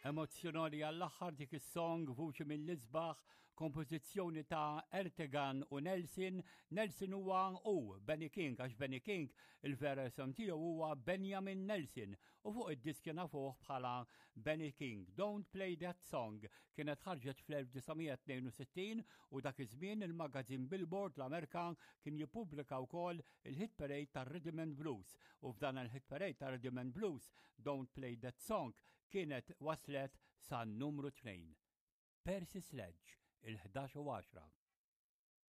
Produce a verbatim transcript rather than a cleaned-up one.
Emozzjonali għall-aħħar dik is-song, vuċi mill-isbaħ, kompożizzjoni ta' Ertegan u Nelson. Nelson huwa u Benny King, għax Benny King il-vera isem tiegħu huwa Benjamin Nelson u fuq id-diski nafuh bħala Benny King. "Don't Play That Song" kienet ħarġet fl-elf disa' mija tnejn u sittin u dak iż-żmien il-magazin Billboard l-Amerika kien jippubblika wkoll il-hit parade tar-Rhythm and Blues, u f'dan il-hit parade tar Rhythm and Blues "Don't Play That Song" kienet waslet sa numru tnejn. Percy Sledge, il-ħdax u għaxra.